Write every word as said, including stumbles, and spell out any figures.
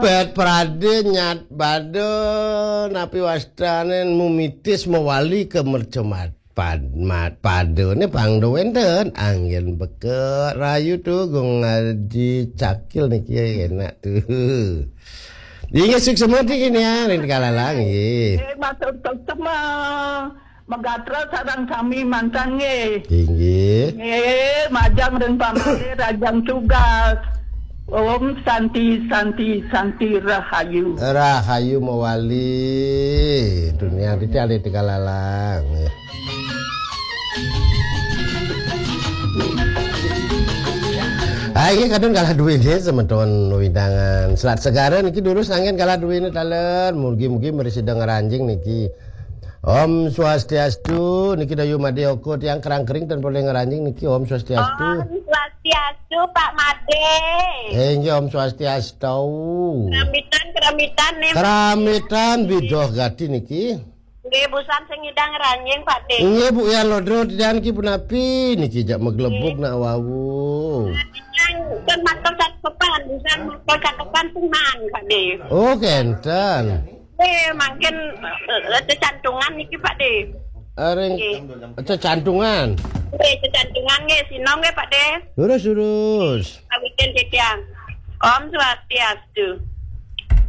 Pet prade nyat bade napi wastane mumitis mawali ke mercemat pad mat pade ne pang do wenten anggen beke rayu tu gung ngaji cakil niki enak tu. Inggih suksma niki ya ring kalalang nggih. Eh, matur suksma. Megatra sareng sami mantan nggih. Inggih. Nggih, majeng ring pamali rajang tugas. Om Santi, Santi, Santi Rahayu. Rahayu mawali. Dunia titi alih tiga lalang. Nggih. Ah, iya kadang kalah duit ya semeton windangan. Selat Segara niki durus angin kalah duit ini taler. Mugi-mugi meri sida ngranjing niki. Om Swastiastu, niki Dayu Made Oko tiang kerang kering ten boleh ngranjing niki Om Swastiastu. Om Swastiastu, Pak Made. Eh, inggih Om Swastiastu. Keramitan, keramitan nih. Keramitan bidoh gati niki. Nggih, busan sing ngidang ranjing, Pak De. Nggih, Bu Yan Lodro tiang niki punapi niki jak meglebug nak wau. Kan matur cakepan, busan matur cakepan tuhan, Pak De. Oh, kenten. Eh, mangkin eh, cecantungan niki, Pak De. Aring Nggih. Cecantungan. Eh, cecantungan nggih, sino nggih, Pak De. Lurus lurus. Awitin titiang. Om Swastiastu.